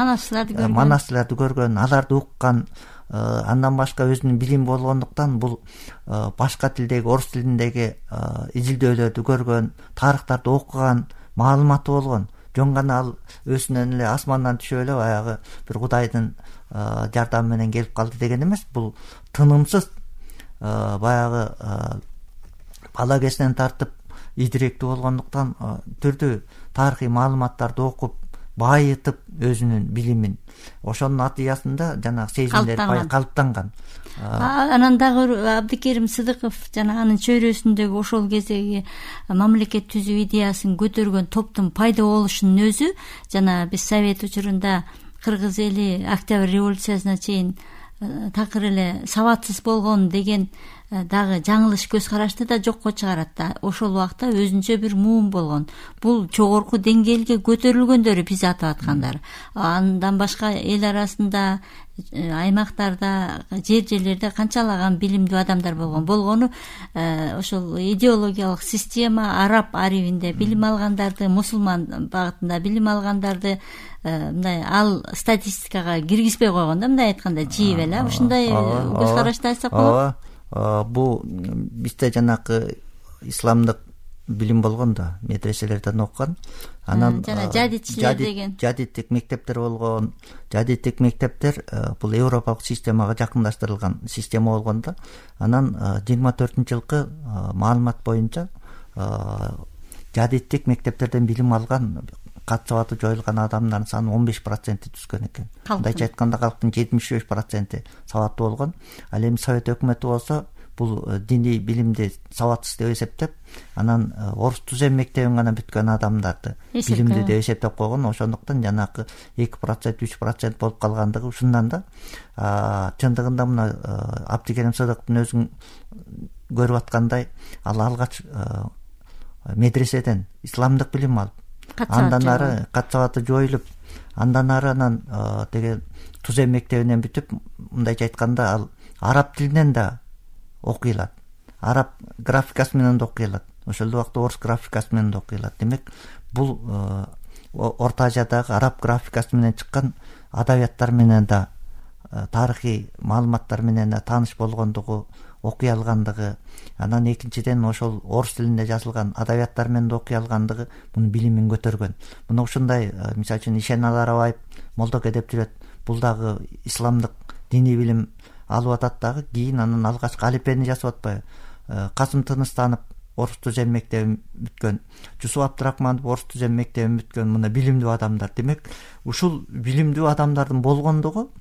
Манасларды көргөн, аларды уккан. Андан башка өзүнүн билим болгондуктан бул башка тилдеги, орус тилиндеги изилдөөлөрдү көргөн, тарыхтарды окуган, маалыматы болгон. Жөн гана ал өзүнөн эле асмандан түшүп эле баягы бир кудайдын жардамы менен келип калды деген эмес. Бул тынымсыз баягы бала кезинен тартып идиректүү болгондуктан түрдүү тарыхый маалыматтарды окуп, байытып өзүнүн билимин, ошонун натыйжасында жанагы сезимдер калыптанган. Анан дагы Абдикерим Сыдыков жана анын чөйрөсүндөгү ошол кездеги мамлекет түзүү идеясын көтөргөн топтун пайда болушунун өзү, жана биз Совет учурунда кыргыз эли Октябрь революциясына чейин такыр эле сабатсыз болгон деген дагы жаңылыш көз карашты да жокко чыгарат да. Ошол убакта өзүнчө бир муун болгон. Бул жогорку деңгээлге көтөрүлгөндөрү биз атап аткандар. Андан башка эл арасында, аймактарда, жерлерде канчалаган билимдүү адамдар болгону ошол идеологиялык система, араб аривинде билим алгандарды, мусулман багытында билим алгандарды мындай ал статистикага киргизбей койгон да, мындай айтканда жийип эле. Ушундай көз карашты айтсак болобу? Бул бизде жанакы исламдык билим болгон да, медреселерден окуган. Анан жана жадитчилер деген жадиттик мектептер болгон. Жадиттик мектептер бул европалык системага жакындаштырылган система болгон да. Анан 24-жылкы маалымат боюнча жадиттик мектептерден билим алган, кат сабаты жоюлган адамдардын саны 15% түзгөн экен. Мындайча айтканда калктын 75% сабаттуу болгон. Ал эми Совет өкмөтү болсо бул диний билимди сабатсыз деп эсептеп, анан орус түзем мектебин гана бүткөн адамдарды билимдүү деп эсептеп койгон. Ошондуктан жанакы 2%, 3% болуп калгандыгы ушундан да. Чындыгында мына Абдикерим Сыдыковдун өзүн көрүп аткандай, ал алгач медреседен исламдык билим алып, андан ары кат сабаты жоюлуп, андан ары анан деге түзем мектебинен бүтүп, мындайча айтканда ал араб тилинен да окуй алат, араб графикасы менен да окуй алат, ошол убакта орус графикасы менен да окуй алат. Демек бул Орто Азиядагы араб графикасы менен чыккан адабияттар менен да, тарыхый маалыматтар менен да тааныш болгондугу, окуй алгандыгы, анан экинчиден ошол орус тилинде жазылган адабияттар менен да окуй алгандыгы мунун билимин көтөргөн. Мына ушундай, мисалы үчүн Ишеналы Арабаев молдок эдеп жүрөт, бул дагы исламдык диний билим алып атат дагы. Кийин анан алгачкы алипени жасап атпайбы, Касым Тыныстанов орус түзем мектебин бүткөн, Жусуп Абдрахманов орус түзем мектебин бүткөн мына билимдүү адамдар. Демек ушул билимдүү адамдардын болгондугу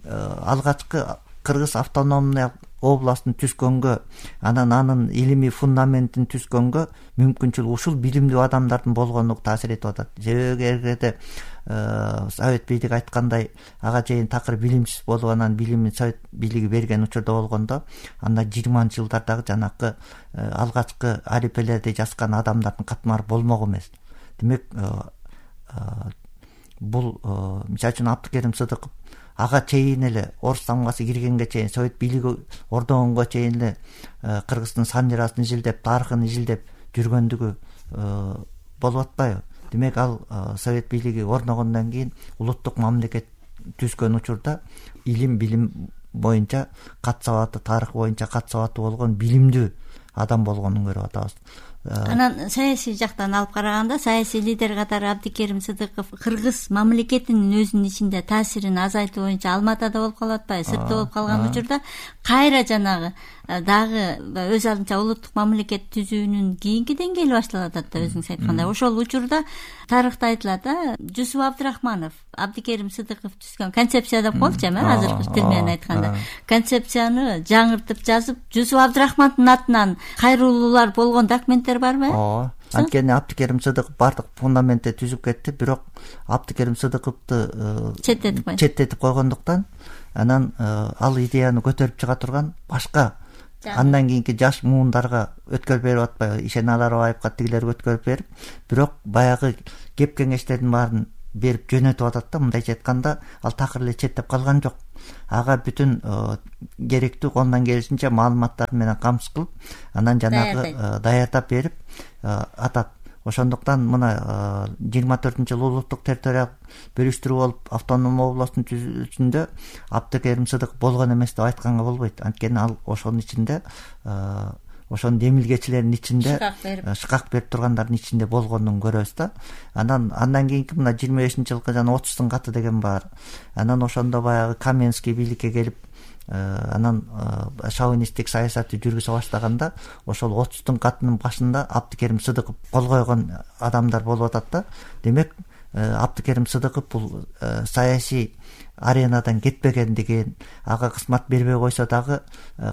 алгачкы Кыргыз автономный областын түзгөнгө, анын илимий фундаментин түзгөнгө мүмкүнчүлүк ушул билимдүү адамдардын болгондугу таасир этип атат. Себеби эгерде Совет бийлиги айткандай ага чейин такыр билимсиз болуп, анан билимин Совет бийлиги берген учурда болгондо, анда 20-ж жылдардагы жанакы алгачкы арипелерди жазган адамдардын катмары болмок эмес. Демек бул мисалы үчүн Абдыкерим Сыдыков ага чейин эле орус тамгасы киргенге чейин, Совет бийлиги ордогонго чейин эле Кыргыздын санжырасын изилдеп, тарыхын изилдеп жүргөндүгү болуп атпайбы? Демек ал Совет бийлиги орногондон кийин улуттук мамлекет түзгөн учурда илим билим боюнча кат сабаты, тарых боюнча кат сабаты болгон билимдүү адам болгонун көрүп атабыз. Анан саясий жактан алып караганда, саясий лидер катары Абдыкерим Сыдыков Кыргыз мамлекетинин өзүнүн ичинде таасирин азайтуу боюнча Алматада болуп калып атпайбы? Сыртта болуп калган учурда кайра жанагы дагы өз алдынча улуттук мамлекет түзүүнүн кийинки деңгээли башталып атат да, өзүңүз айткандай. Ошол учурда тарыхта айтылат да, Жусуп Абдрахманов Абдыкерим Сыдыков түзгөн концепция деп коелучу, азыркы тил менен айтканда. Концепцияны жаңыртып жазып, Жусуп Абдрахмандын атынан кайрылуулар болгон документтер барбы? Анткени Абдыкерим Сыдыков бардык фундаментти түзүп кетти, бирок Абдыкерим Сыдыковду четтетип койгондуктан анан ал идеяны көтөрүп чыга турган башка андан кийинки жаш муундарга өткөрүп берип атпайбы? Ишене Аларбаевга тигилерге өткөрүп берип, бирок баягы кеп кеңештердин баарын берип жөнөтүп атат да. Мындайча айтканда, ал такыр эле четтеп калган жок. Ага бүтүн керектүү колунан келишинче маалыматтар менен камсыз кылып, анан жанагы даярдап берип атат. Ошондуктан мына 24-жылы улуттук территориялык бөлүштүрүү болуп автономдуу областтын түзүүсүндө Абдыкерим Сыдыков болгон эмес деп айтканга болбойт. Анткени ал ошонун ичинде, ошонун демилгечилердин ичинде, шыкак берип тургандардын ичинде болгонун көрөбүз да. Андан кийинки мына 25-жылкы жана 30-тун каты деген бар. Анан ошондо баягы Каменский бийликке келип, анан шовинисттик саясатты жүргүзө баштаганда, ошол 30-тун катынын башында Абдыкерим Сыдыков кол койгон адамдар болуп атат да. Демек Абдыкерим Сыдыков бул саясий аренадан кетпегендигин, ага кызмат бербей койсо дагы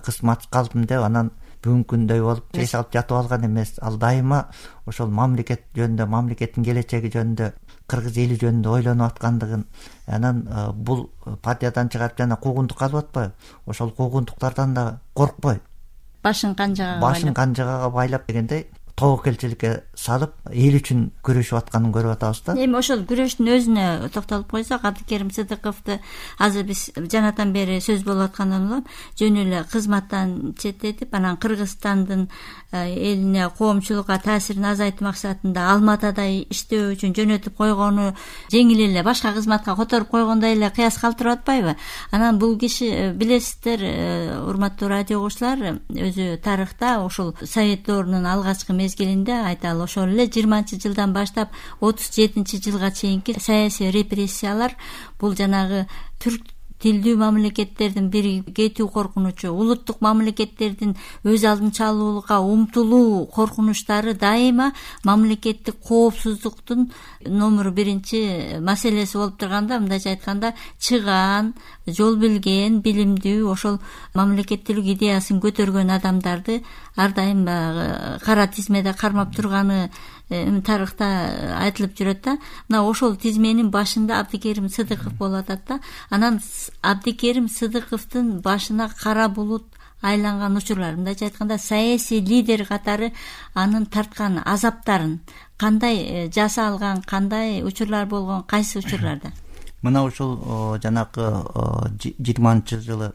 кызмат калдым деп анан бүгүнкү күндөй болуп чейиш алып жатып алган эмес. Ал дайыма ошол мамлекет жөнүндө, мамлекеттин келечеги жөнүндө, кыргыз эли жөнүндө ойлонуп аткандыгын, анан бул партиядан чыгарып жана куугунтукка алып атпайбы? Ошол куугунтуктардан да коркпой, башын канжыгага байлап дегендей тобокелчиликке салып эл үчүн күрөшүп атканын көрүп атабыз да. Эми ошол күрөштүн өзүнө токтолуп койсок, Абдыкерим Сыдыковду азыр биз жанатан бери сөз болуп аткандан улам жөн эле кызматтан четтетип, анан Кыргызстандын элине, коомчулукка таасирин азайтуу максатында Алматада иштөө үчүн жөнөтүп койгону жеңил эле башка кызматка которуп койгондой эле кыяс калтырып атпайбы? Анан бул киши, билесиздер, урматтуу радио угуучулар, өзү тарыхта ушул Совет доорунун алгачкы мезгилинде, айталы ошол эле 20-жылдан баштап 37-жылга чейинки саясий репрессиялар, бул жанагы түрк тилдүү мамлекеттердин бири кетүү коркунучу, улуттук мамлекеттердин өз алдынча алуулукка умтулуу коркунучтары дайыма мамлекеттик коопсуздуктун номер 1 маселеси болуп турганда, мындайча айтканда, чыгаан, жол билген, билимдүү, ошол мамлекеттүүлүк идеясын көтөргөн адамдарды ар дайым кара тизмеде кармап турганы тарыхта айтылып жүрөт да. Мына ошол тизменин башында Абдыкерим Сыдыков болуп атат да. Анан Абдыкерим Сыдыковдун башына кара булут айланган учурлар, мындайча айтканда, саясий лидер катары анын тарткан азаптарын кандай жасалган, кандай учурлар болгон, кайсы учурларда? Мына ушул жанакы 20-жылы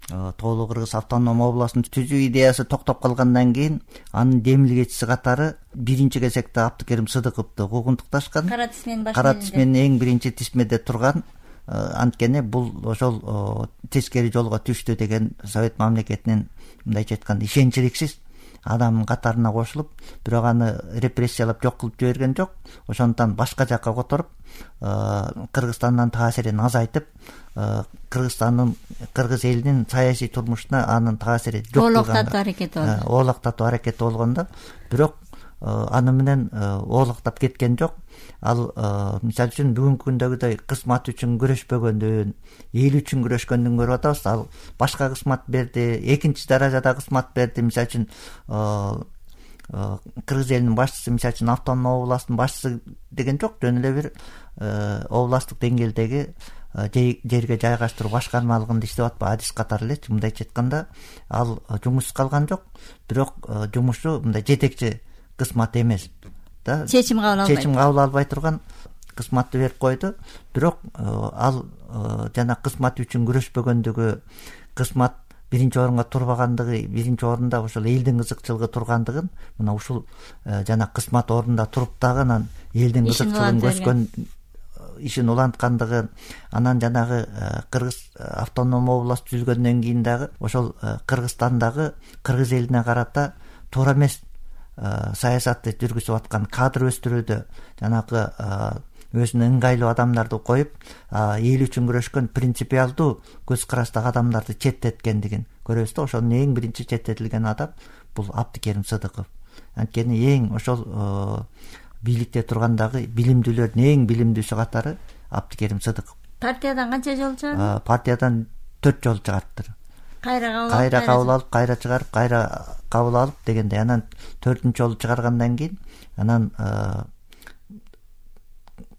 Тоолуу Кыргыз автономдуу областын түзүү идеясы токтоп калгандан кийин анын демилгечиси катары биринчи кезекте Абдыкерим Сыдыковду куугунтукташкан. Кара тизменин эң биринчи тизмеде турган. Анткени бул ошол тескери жолго түштү деген Совет мамлекетинин, мындайча айтканда, ишенчиликсиз адамдын катарына кошулуп, бирок аны репрессиялап жок кылып жиберген жок. Ошондуктан башка жакка которуп, Кыргызстандын таасирин азайтып, кыргыз элинин саясий турмушуна анын таасири жок кылган, оолактатуу аракети болгондо, бирок аны менен оолактап кеткен жок. Ал мисалы үчүн бүгүнкү күндөгүдөй кызмат үчүн күрөшпөгөндүн, эл үчүн күрөшкөндүн көрүп атабыз. Ал башка кызмат берди, экинчи даражада кызмат берди. Мисалы үчүн кыргыз элинин башчысы, мисалы үчүн автономдук областтын башчысы деген жок, жөн эле бир областтык деңгээлдеги жерге жайгаштыруу башкармалыгында иштеп атпайбы, адис катары элечи. Мындайча айтканда, ал жумушсуз калган жок, бирок жумушу мындай жетекчи кызмат эмес да, чечим кабыл албай турган кызматты берип койду. Бирок ал жана кызмат үчүн күрөшпөгөндүгү, кызмат биринчи орунга турбагандыгы, биринчи орунда ошол элдин кызыкчылыгы тургандыгын, мына ушул жана кызмат орунда туруп дагы анан элдин кызыкчылыгын көчкөн, ишин уланткандыгын, анан жанагы Кыргыз автономдук област түзүлгөндөн кийин дагы ошол Кыргызстандагы кыргыз элине карата туура эмес саясатты жүргүзүп аткан, кадр өстүрүүдө жанагы өзүнө ыңгайлуу адамдарды коюп, эл үчүн күрөшкөн принципиалдуу көз караштагы адамдарды четтеткендигин көрөбүз да. Ошонун эң биринчи четтетилген адам бул Абдыкерим Сыдыков. Анткени эң ошол бийликте тургандагы билимдүүлөрдүн эң билимдүүсү катары Абдыкерим Сыдыков. Партиядан канча жолу чыгарды? Партиядан 4 жолу чыгарды. Кайра кабыл алып, кайра чыгарып, кайра кабыл алып дегендей. Анан 4-нчү жолу чыгаргандан кийин анан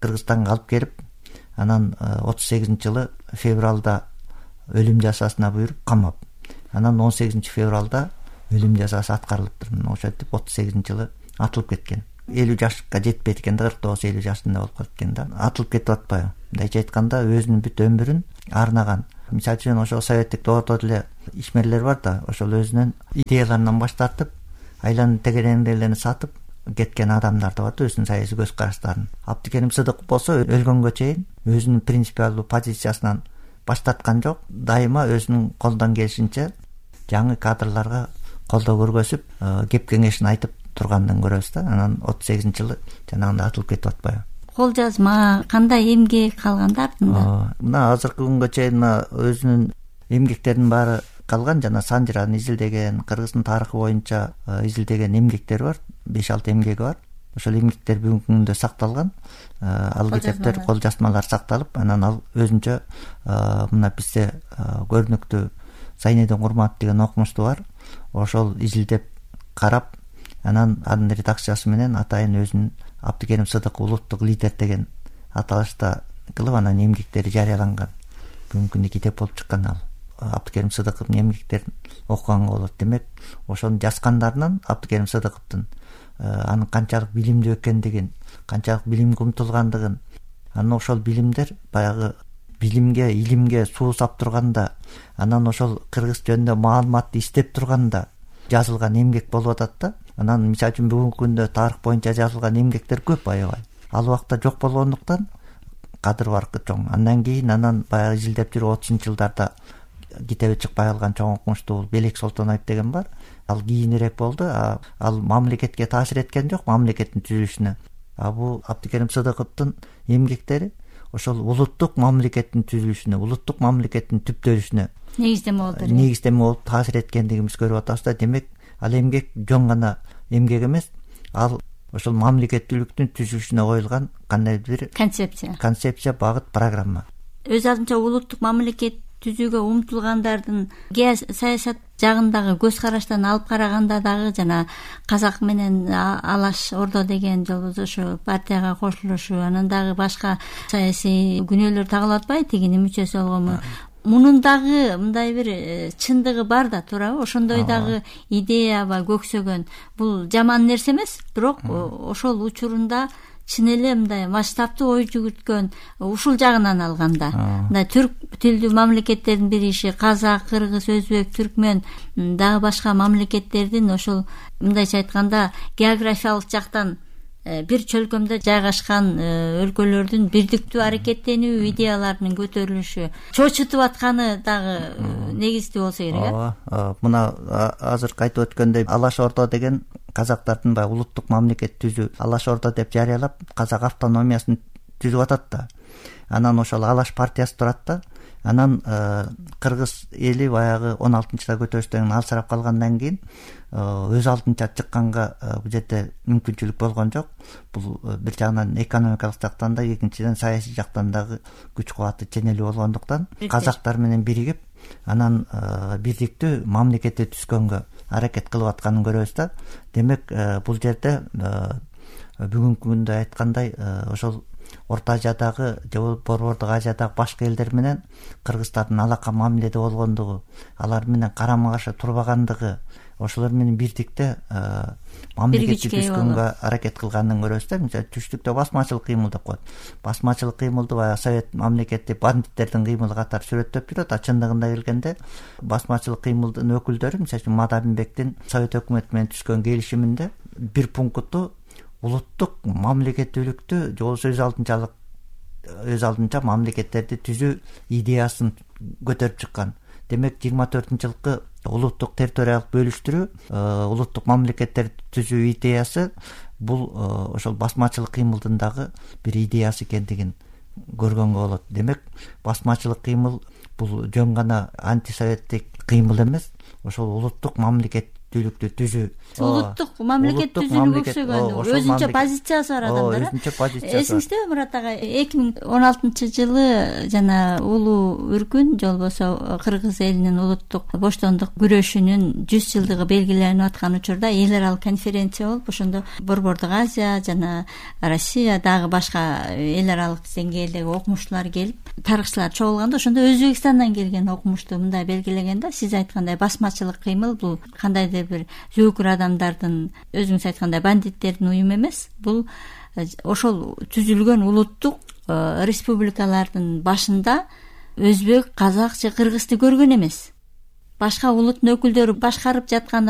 Кыргызстанга алып келип, анан 38-жылы февралда өлүм жазасына буйруп камап, анан 18-февралда өлүм жазасы аткарылыптыр. Ошентип 38-жылы атылып кеткен. 50 жашка жетпейт экен да, 49-50 жашында болуп кеткен да. Атылып кетип атпайбы? Мындайча айтканда, өзүнүн бүт өмүрүн арнаган. Мисалы үчүн ошол советтик доордо деле ишмерлер бар да, ошол өзүнүн идеяларынан баш тартып, айланып тегерендейлерин сатып кеткен адамдар да бар да, өзүнүн саясий көз караштарын. Абдыкерим Сыдыков болсо өлгөнгө чейин өзүнүн принципиалдуу позициясынан баш тарткан жок. Дайыма өзүнүн колдон келишинче жаңы кадрларга колдоо көргөзүп, кеп кеңешин айтып тургандын көрөбүз да. Анан 38-жылы жанагындай атылып кетип атпайбы? Кол жазма, кандай эмгек калганда артында? Мына азыркы күнгө чейин өзүнүн эмгектеринин баары калган. Жана Санжираны изилдеген, Кыргыздын тарыхы боюнча изилдеген эмгектери бар, 5-6 эмгеги бар. Ошол эмгектер бүгүнкү күндө сакталган. Ал китептер, кол жазмалар сакталып, анан ал өзүнчө мына бизде көрүнүктүү Зайнедин Курматов деген окумуштуу бар. Ошол изилдеп карап, анан анын редакциясы менен атайын өзүнүн Абдыкерим Сыдыков улуттук лидер деген аталышта кылып, анан эмгектери жарыяланган. Бүгүнкү күндө китеп болуп чыккан ал. Абдыкерим Сыдыковдун эмгектерин окуганга болот. Демек, ошону жазгандарынан Абдыкерим Сыдыковдун анын канчалык билимдүү экендигин, канчалык билимге умтулгандыгын, анан ошол билимдер баягы билимге, илимге суу сап турганда, анан ошол кыргыз жөнүндө маалыматты издеп турганда жазылган эмгек болуп атат да. Анан мисалы үчүн бүгүнкү күндө тарых боюнча жазылган эмгектер көп аябай. Ал убакта жок болгондуктан кадыр баркы чоң. Андан кийин анан баягы изилдеп жүрүп 30-жылдарда китеби чыкпай калган чоң окумуштуу Белек Солтоноев деген бар. Ал кийинирээк болду. Ал мамлекетке таасир эткен жок, мамлекеттин түзүлүшүнө. Бул Абдыкерим Сыдыковдун эмгектери ошол улуттук мамлекеттин түзүлүшүнө, улуттук мамлекеттин түптөлүшүнө негиздеме болуп таасир эткендигибизди көрүп атабыз да. Демек, ал эмгек жөн гана эмгек эмес, ал ошол мамлекеттүүлүктүн түзүлүшүнө коюлган кандайдыр бир концепция, багыт, программа. Өз алдынча улуттук мамлекет түзүүгө умтулгандардын саясат жагындагы көз караштан алып караганда дагы жана Казак менен Алаш Ордо деген жолдошу партияга кошулушу, анан дагы башка саясий күнөөлөр тагылып атпайбы, тигинин мүчөсү болгонму? Мунун дагы мындай бир чындыгы бар да, туурабы? Ошондой дагы идеяба көксөгөн. Бул жаман нерсе эмес, бирок ошол учурунда чын эле мындай масштабтуу ой жүгүрткөн, ушул жагынан алганда мындай түрк тилдүү мамлекеттердин бириши, казак, кыргыз, өзбек, түркмөн, дагы башка мамлекеттердин ошол мындайча айтканда географиялык жактан бир чөлкөмдө жайгашкан өлкөлөрдүн бирдиктүү аракеттенүү идеяларынын көтөрүлүшү чочутуп атканы дагы негиздүү болсо керек. Ооба, мына азыркы айтып өткөндөй Алаш Орда деген казактардын баягы улуттук мамлекет түзүү, Алаш Орда деп жарыялап казак автономиясын түзүп атат да. Анан ошол Алаш партиясы турат да. Анан кыргыз эли баягы 16-да көтөрүштөн алсырап калгандан кийин өз алдынча чыкканга бул жерде мүмкүнчүлүк болгон жок. Бул бир жагынан экономикалык жактан да, экинчиден саясий жактан дагы күч кубаты ченелүү болгондуктан казактар менен биригип анан бирдиктүү мамлекетти түзгөнгө аракет кылып атканын көрөбүз да. Демек бул жерде бүгүнкү күндө айткандай ошол Орто Азиядагы же Борбордук Азиядагы башка элдер менен кыргыздардын алака мамиледе болгондугу, алар менен карама каршы турбагандыгы, ошолор менен бирдикте мамлекетти түзгөнгө аракет кылганын көрөбүз да. Мисалы түштүктө басмачылык кыймыл деп коет. Басмачылык кыймылды баягы совет мамлекети бандиттердин кыймылы катары сүрөттөп жүрөт. Чындыгында келгенде басмачылык кыймылдын өкүлдөрү, мисалы үчүн Мадамин-бектин совет өкмөтү менен түзгөн келишиминде бир пункту улуттук мамлекеттүүлүктү же болбосо өз алдынча мамлекеттерди түзүү идеясын көтөрүп чыккан. Демек 24-жылкы улуттук территориялык бөлүштүрүү, улуттук мамлекеттерди түзүү идеясы бул ошол басмачылык кыймылдын дагы бир идеясы экендигин көргөнгө болот. Демек басмачылык кыймыл бул жөн гана антисоветтик кыймыл эмес, ошол улуттук мамлекеттүүлүктү түзүү, улуттук мамлекет түзүүгө өксөгөн өзүнчө позициясы бар адамдар. Өзүнчө позициясы. Эсиңиздеби Мурат ага, 2016-жылы жана улуу үркүн же болбосо кыргыз элинин улуттук боштондук күрөшүнүн 100 жылдыгы белгиленип аткан учурда эл аралык конференция болуп, ошондо Борбордук Азия жана Россия дагы башка эл аралык деңгээлдеги окумуштуулар келип, тарыхчылар чогулганда, ошондо Өзбекстандан келген окумуштуу мындай белгилеген да: сиз айткандай басмачылык кыймыл бул кандайдыр бир зөөкүр адамдардын, өзүңүз айткандай бандиттердин уюму эмес, бул ошол түзүлгөн улуттук республикалардын башында өзбек, казак же кыргызды көргөн эмес. Башка улуттун өкүлдөрү башкарып жаткандан